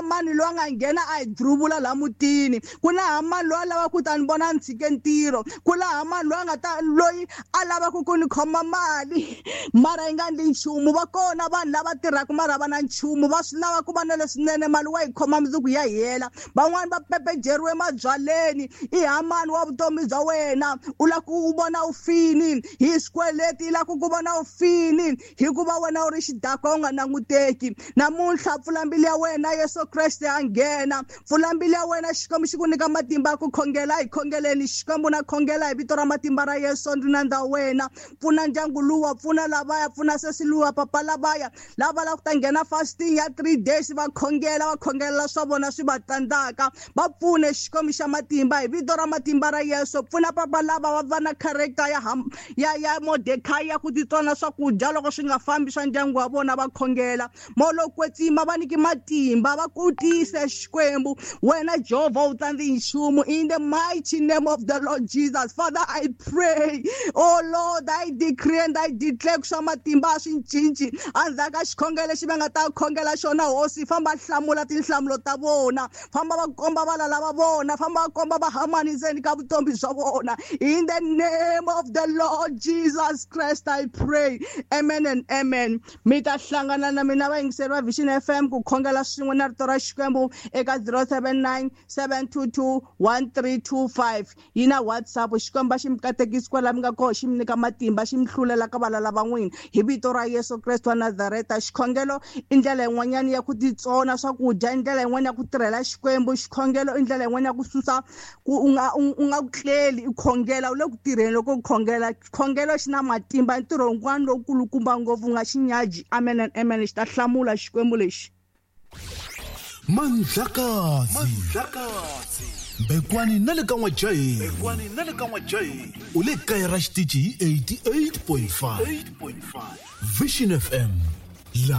Hamani loyi a nga nghena a hi druvula laha mutini, ku na Hamani loyi a lavaka ku ta ni vona ni tshike ntirho, ku na Hamani loyi a nga ta loyi a lavaka ku ni khoma mali mara yi nga ndli nchumu. Va kona vanhu lava tirhaka mara va na nchumu, va swi lava ku va na leswinene, mali wa yi khoma mundzuku ya hela. Van'wani va pepejeriwe mabyaleni, i Hamani wa vutomi bya wena, u lava ku u vona u fini hi swikweleti, i lava ku ku vona u fini hikuva wena u ri xidakwa u nga languteki. Namuntlha pfula mbilu ya wena, Yesu Kreste a nghena. Pfula mbilu ya wena, Xikwembu xi ku nyika matimba ya ku khongela. Hi khongeleni Xikwembu, na khongela hi vito ra matimba ra Yesu, ndzi nandza wena. Pfuna ndyangu luwa, pfuna lavaya, pfuna sesi luwa, papa lavaya lava lava ku ta nghena fasting ya 3 days, va khongela, va khongelela swa vona swi va tsandzaka. Va pfune Xikwembu xa matimba hi vito ra matimba ra Yesu. Pfuna papa lava va va na character ya ya ya Mordekai ya ku titsona swakudya loko swi nga fambi swa ndyangu wa vona, va khongela. Moya lowo kwetsima va nyiki matimba, va kutise Xikwembu. Wena Jehovha u tsandzi nchumu. In the mighty name of the Lord Jesus, Father, I pray, oh Lord, I decree and I declare swa matimba a swi cinci. Endzhaku ka xikhongelo lexi va nga ta khongela xona, Hosi, famba hlamula tinhlamulo ta vona, famba va komba valala va vona, famba va komba va Hamani ndzeni ka vutomi bya vona. In the name of the Lord Jesus Christ, I pray. Amen and amen. Mi ta hlangana na mina vayingiseri va Vision FM ku khongela swin'we na rito ra Xikwembu eka 079 722 1325. Yi na WhatsApp. Xikwembu a xi mi katekisi kwala mi nga kona, xi mi nyika matimba, xi mi hlulela ka valala va n'wina hi vito ra Yesu Kreste wa Nazareta. Xikhongelo i ndlela yin'wanyana ya ku titsona swakudya, i ndlela yin'wana ya ku tirhela Xikwembu. Xikhongelo i ndlela yin'wana ya ku susa ku u nga u nga ku tleli i khongela, u le ku tirheni loko u khongela. Xikhongelo xi na matimba, i ntirho wun'wana lowukulukumba ngopfu, u nga xi nyaji. Amen and amen. Xi ta hlamula Xikwembu lexi. Mandlakazi Mbekwani na le ka N'wajaheni u le kaya ra xitichi hi 88.5 Vision FM la.